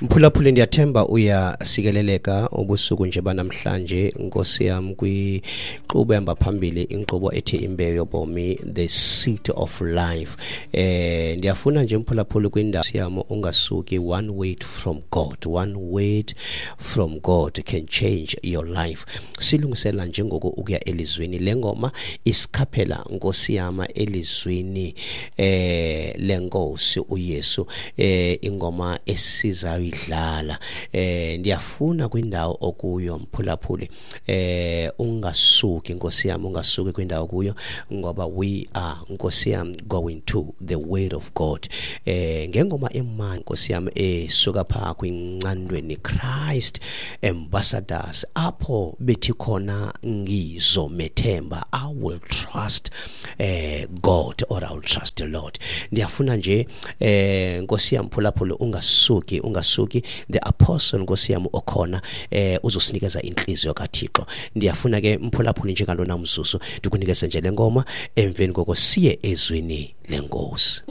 Mphulaphuli, ndiyathemba uyasikeleleka ubusuku nje banamhlanje, Nkosi yam, kwinkqubo ehamba phambili, inkqubo ethi Imbewu Yobomi, The Seed of Life. Ndiyafuna nje, mphulaphuli, kwindawo yam ungasuki. One word from God, one word from God can change your life. Silungisela njengoku ukuya elizwini. Le ngoma isikhaphela, Nkosi yam, elizwini lenkosi uYesu. Ingoma esizayidlala, ndiyafuna kwindawo okuyo, mphulaphuli, ungasuki, Nkosi yam, ungasuki kwindawo kuyo, ngoba we are, Nkosi yam, going to the word of God ngengoma emani, Nkosi yam, esuka phaa kwiNcandweni Christ Ambassadors, apho bethi khona "Ngizomethemba", I will trust God or I will trust the Lord. Ndiyafuna nje, Nkosi yam, phulaphula, ungasuki, ungasuki. The apostle, Nkosi yam, okhona uzosinikeza inhliziyo kaThixo. Ndiyafuna ke, mphulaphuli, njengalona mzuzu ndikunikeze nje le ngoma, emveni koko siye ezwini lenkosi.